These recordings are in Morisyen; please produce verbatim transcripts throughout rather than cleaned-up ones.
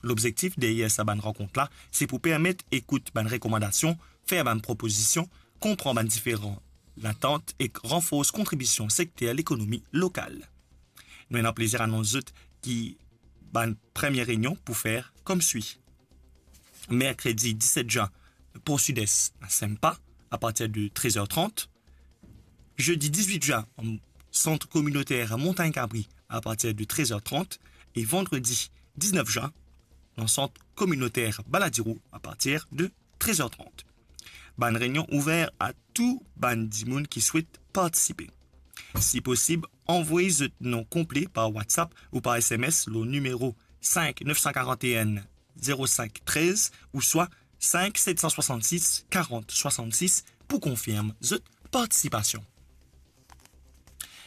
Lobzektif deryer sa bann rankont la, se pou permet ekout bann rekomandasion, fer bann propozision, konpran bann diferan latant ek ranfors kontribision sekter lekonomi lokal. Nou ena plezir anons zot ki bann premie reynion pou fer koumswi. Merkredi diset zin, Port Sud-Est a Sempa, apartir de trez er trant. Zedi dizuit zin, Centre Communautaire Montagne Cabri, apartir de trez er trant. E vandredi diznef zin, dan Centre Communautaire Baladiro, apartir de trez er trant. Bann reynion ouver a tou bann dimoun ki swet partisipe. Si posib, anvoy zot non konple par WhatsApp ou par S M S lor nimero sink nef san karant-enn zero sink trez ouswa sink set san swasannsis karant swasannsis pou konfirm zot partisipasion.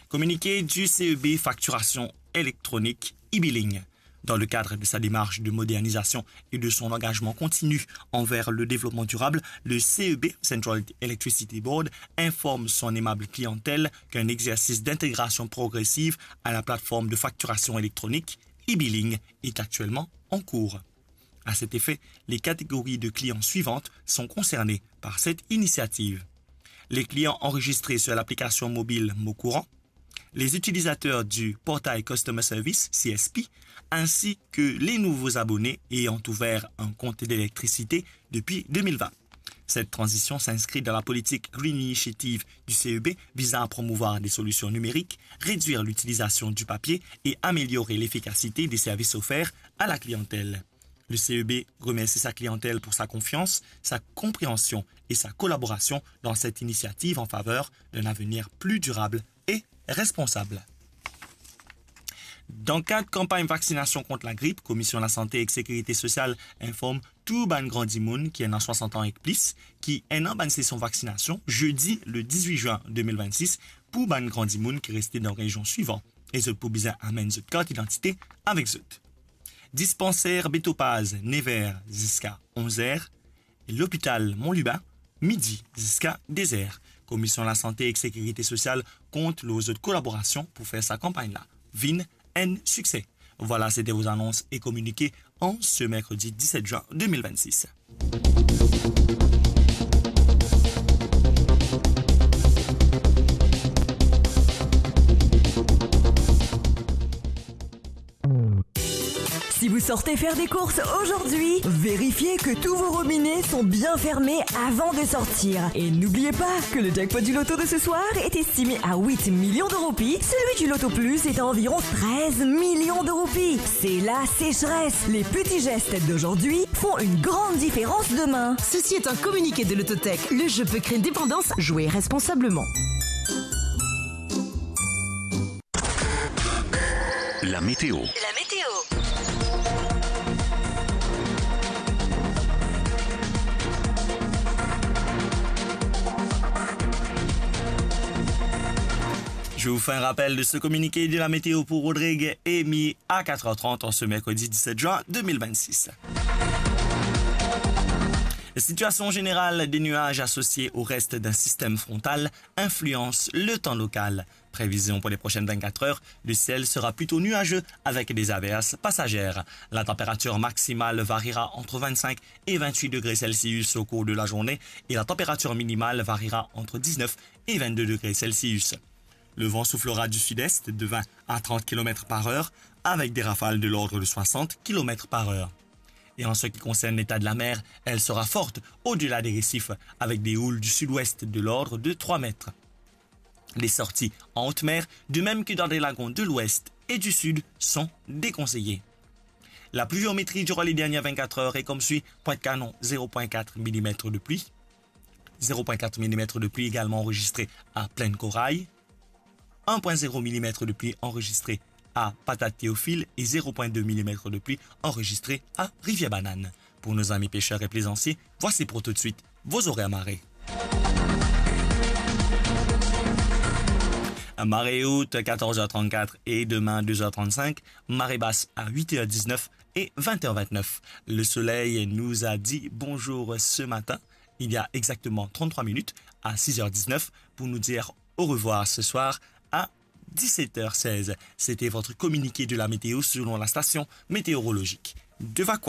Communiqué du C E B, facturation électronique, e-billing. Dans le cadre de sa démarche de modernisation et de son engagement continu envers le développement durable, le C E B, Central Electricity Board, informe son aimable clientèle qu'un exercice d'intégration progressive à la plateforme de facturation électronique, e-billing, est actuellement en cours. À cet effet, les catégories de clients suivantes sont concernées par cette initiative. Les clients enregistrés sur l'application mobile Mon Courant, les utilisateurs du portail Customer Service, C S P, ainsi que les nouveaux abonnés ayant ouvert un compte d'électricité depuis deux mille vingt. Cette transition s'inscrit dans la politique Green Initiative du C E B visant à promouvoir des solutions numériques, réduire l'utilisation du papier et améliorer l'efficacité des services offerts à la clientèle. Le C E B remercie sa clientèle pour sa confiance, sa compréhension et sa collaboration dans cette initiative en faveur d'un avenir plus durable et responsable. Dan kad kanpagn vaksinasion kont lagrip, Komision Lasante ek Sekirite Sosial inform tou bann gran dimoun ki ena swasant an ek plis ki ena bann sesion vaksinasion zedi le dizuit zin de mil vennsis pou bann gran dimoun ki reste dan rezion swivan e zot pou bizin amenn zot kart idantite avek zot. Dispanser Betopaz, nef er ziska onz er, e lopital Mont Lubin, midi ziska de er. Komision Lasante ek Sekirite Sosial kont lor zot kolaborasion pou fer sa kanpagn la vinn enn sikse. Vwala, sete vo zanons e kominike an se merkredi diset zin de mil vennsis. Si vous sortez faire des courses aujourd'hui, vérifiez que tous vos robinets sont bien fermés avant de sortir. Et n'oubliez pas que le jackpot du loto de ce soir est estimé à huit millions de roupies, celui du loto plus est à environ treize millions de roupies. C'est la sécheresse. Les petits gestes d'aujourd'hui font une grande différence demain. Ceci est un communiqué de Lototech. Le jeu peut créer une dépendance. Jouez responsablement. La météo. La météo. Je vous fais un rappel de ce communiqué de la météo pour Rodrigue et Mi à quatre heures trente en ce mercredi dix-sept juin deux mille vingt-six. Situation générale, des nuages associés au reste d'un système frontal influencent le temps local. Prévision pour les prochaines vingt-quatre heures, le ciel sera plutôt nuageux avec des averses passagères. La température maximale variera entre vingt-cinq et vingt-huit degrés Celsius au cours de la journée et la température minimale variera entre dix-neuf et vingt-deux degrés Celsius. Le vent soufflera du sud-est de vingt à trente kilomètres par heure avec des rafales de l'ordre de soixante kilomètres par heure. Et en ce qui concerne l'état de la mer, elle sera forte au-delà des récifs avec des houles du sud-ouest de l'ordre de trois mètres. Les sorties en haute mer, de même que dans des lagons de l'ouest et du sud, sont déconseillées. La pluviométrie durant les dernières vingt-quatre heures est comme suit : Pointe-Canon, zéro point quatre millimètres de pluie, zéro point quatre millimètres de pluie également enregistré à Plaine Corail, un point zéro millimètres de pluie enregistré à Patate Théophile et zéro point deux millimètres de pluie enregistré à Rivière-Banane. Pour nos amis pêcheurs et plaisanciers, voici pour tout de suite vos horaires marée. Marée haute, quatorze heures trente-quatre et demain, deux heures trente-cinq. Marée basse à huit heures dix-neuf et vingt heures vingt-neuf. Le soleil nous a dit bonjour ce matin, il y a exactement trente-trois minutes, à six heures dix-neuf, pour nous dire au revoir ce soir à dix-sept heures seize. C'était votre communiqué de la météo selon la station météorologique. Tu vas quoi?